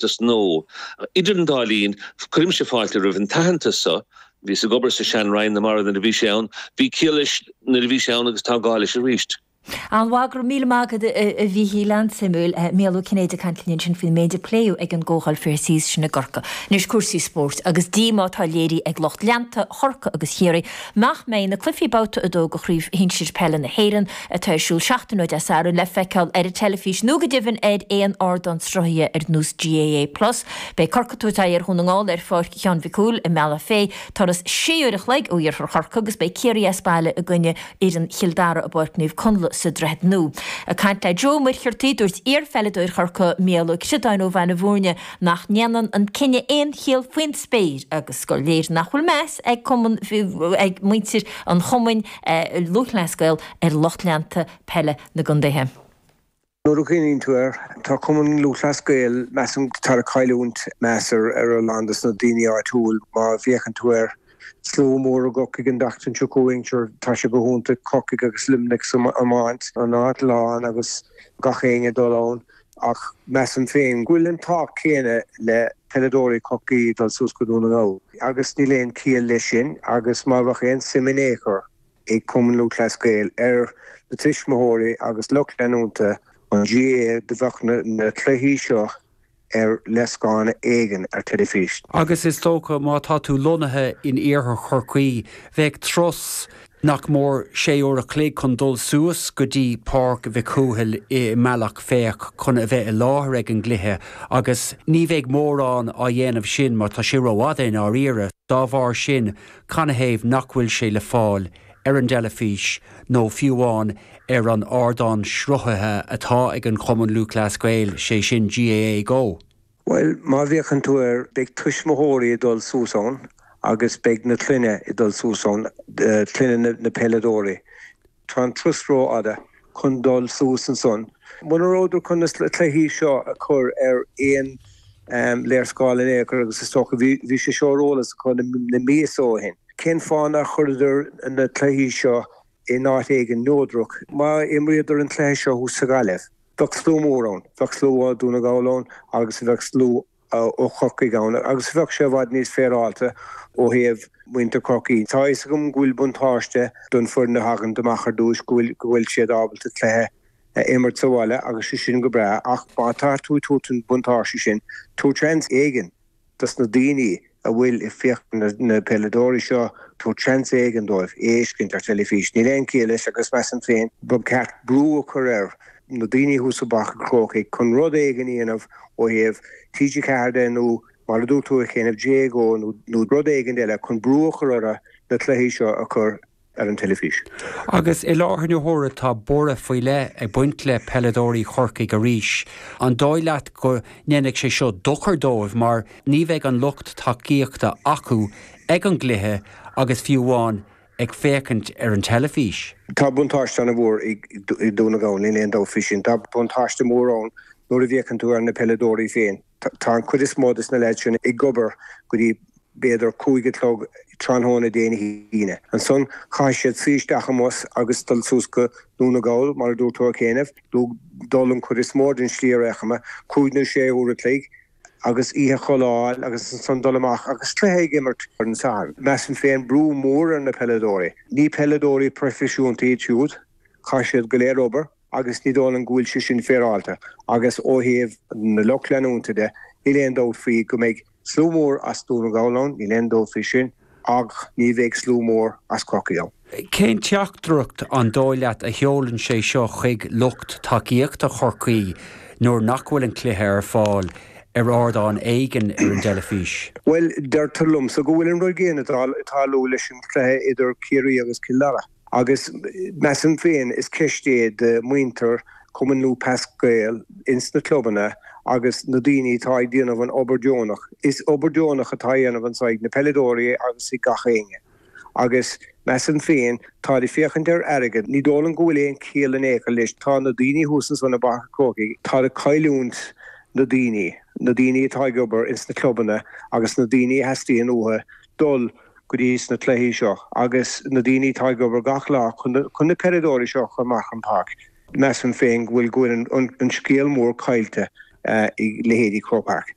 Nó, idir an dá linn, cuirimse fáilte roimh an t-aitheantas so. Bhíos ag obair sa sean-Roinn na Mara nuair a bhí sé ann. Bhí ciall leis nuair a bhí sé ann agus tá gá leis arís. An-mhaith, go raibh míle maith agat a Mhíchíl, an-suimiúil. Mícheál Ó Cinnéide ag caint linn ansin faoin méid a pléadh ag an gcomhdháil Fair Seas sin i gCorcaigh. Anois cúrsaí spóirt agus díomá atá léirithe ag lucht leanta Chorcaí agus Chiarraí nach mbeidh na cluichí Babhta 2 de Chraobh Shinsir Peile na hÉireann atá ar siúl seachtain ó Dé Sathairn le feiceáil ar an teilifís nó go deimhin ar aon ardán sruthaithe ar nós GAA Plus. Beidh Corcaigh ag tabhairt aghaidh ar Dhún na nGall ar Pháirc Sheáin Mhic Cumhaill i mBealach Féich, turas sé uair a chloig ó iarthar Chorcaí agus beidh Ciarraí as baile i gcoinne fhoireann Chill Dara i bPáirc Naomh Conlath sa Droichead Nua. Ag caint le Joe Ó Muircheartaigh, dúirt iar-pheileadóir Chorcaí, Mícheál Ó Ciodáin ó Bhaile Bhúirne nach ndéanann an cinneadh aon chiall faoin spéir agus gur léir nach bhfuil meas ag cumann ag muintir an Chumainn Lúthchleas Gael ar lucht leanta peile na gcontaetha. Nuair a chuimhníonn tú air, tá Cumann Lúthchleas Gael, measaim, tá ag cailliúint meas ar a lán dos na daoine áitiúil. Má bhféachann tú air, slua mór i gCorcaigh an tseachtain seo chugainn, sure, tá sé go hiontach, Corcaigh agus Luimneach san iomáint, an áit lán agus gach éinne ag dul ann. Ach measaim féin go bhfuil an tábhacht céanna le peileadóirí Chorcaí dul suas go Dún na nGall agus níl aon chiall leis sin agus má bheadh aon suim in aon chor ag Cumann Lúthchleas Gael ar na tuismitheoirí agus lucht leanúnta an GAA do bheadh na cluichí seo ar léarscáil éigin ar teilifís. Agus is dócha má tá tú lonnaithe in iarthar Chorcaí, bheadh turas nach mór sé uair a chloig chun dul suas go dtí Páirc Mhic Cumhaill i mBealach Féich chun a bheith i láthair ag an gcluiche agus ní bheidh mórán á dhéanamh sin mar tá sé rófhada i ndáiríre. Dá bharr sin, canathaobh nach bhfuil sé le fáil ar an dteilifís nó fiú amháin ar an ardán sruthaithe atá ag an Chumann Lúthchleas Gael, sé sin GAA Go? Bhuel, má bhféachann tú air, beidh tuismitheoirí ag dul suas ann agus beidh na clainne ag dul suas ann, clainne na peileadóirí. Tá an turas rófhada chun dul suas ansan. Muna rabhadar chun na cluichí seo a chur ar aon léarscáil in aon chor, agus is dócha, bhí sé seo ar eolas acu na míosa ó shin, cén fáth nár chuireadar na cluichí seo in áit éigin neodrach? Má imríodar an cluiche seo thuas sa Ghaillimh, Bheadh slua mór ann, bheadh slua ó Dhún na nGall ann agus bheadh slua ó Chorcaigh ann agus bheadh sé i bhfad níos féaráilte ó thaobh muintir Chorcaí. Tá a fhios agam go bhfuil buntáiste don foireann a thagann amach ar dtúis, go bhfuil go bhfuil siad ábalta cluiche a imirt sa bhaile agus sé sin go breá ach má tá tú ag tabhairt an buntáiste sin, tabhair seans éigin. dos na daoine a bhfuil ag féachaint ar na peileadóirí seo, tabhair seans éigin dóibh é a fheiscint ar teilifís. Níl aon chiall leis agus measaim féin ba cheart brú a chur ar na daoine thuas i bPáirc an Chrócaigh chun rud éigin a dhéanamh ó thaobh TG4 de nó mar a dúirt tú a Chéin GAA Go nó rud éigin eile chun brú a chur orthu na cluichí seo a chur ar an teilifís. Agus i láthair na huaire tá borradh faoi leith ag baint le peileadóirí Chorcaigh arís. An dóigh leat go ndéanfaidh sé seo dochar dóibh mar ní bheidh an lucht tacaíochta acu ag an gcluiche agus fiú amháin ag féachaint ar an teilifís? Tá buntáiste an-mhór ag Dún na nGall, níl aon dabht faoi sin. Tá buntáiste mór ann nuair a bhféachann tú ar na peileadóirí féin. Tá an chuid is mó de na leaids sin ag obair go dtí b'fhéidir 5 a chlog tráthnóna Dé hAoine. Ansan caithfidh siad suí isteach i mbus agus dul suas go Dún na Gall, mar a dúirt tú a Chéin, nó dul an chuid is mó den slí ar aon chuma, cúig nó sé uair a chloig, agus oíche a chodladh agus ansan dul amach agus cluiche ag imirt ar an Satharn. Measaim féin brú mór ar na peileadóirí. Ní peileadóirí proifisiúnta iad siúd, caithfidh siad go léir obair. agus ní dóigh liom go bhfuil sé sin féaráilte agus ó thaobh na lucht leanúnta de, níl aon dabht faoi go mbeidh slua mór as Dún na nGall ann, níl aon dabht faoi sin, ach ní bheidh slua mór as Corcaigh ann. Cén teachtaireacht an dóigh leat a sheolann sé seo chuig lucht tacaíochta Chorcaí nuair nach bhfuil an cluiche ar fáil ar ardán éigin ar an dteilifís? Bhuel, deirtear liomsa go bhfuil an rud céanna ag tarlú leis an chluiche idir Ciarraí agus Cill Dara. Agus measaim féin, is ceist é do mhuintir Chumann Lúthchleas Gael ins na clubanna agus na daoine atá ag déanamh an obair deonach. Is obair deonach atá á dhéanamh anso ag na peileadóirí agus ag gach éinne. Agus measaim féin, táid ag féachaint ar airgead. Ní dóigh liom go bhfuil aon chiall in aon chor leis. Tá na daoine thuas ansan i bPáirc an Chrócaigh, táid ag cailliúint na daoine, na daoine atá ag obair ins na clubanna agus na daoine a theastaíonn uathu dul go dtí sna cluichí seo agus na daoine atá ag obair gach lá chun na peileadóirí seo a chur amach an páirc. Measaim féin go bhfuil go bhfuil an scéal mór caillte. i leithéidí Croke Park.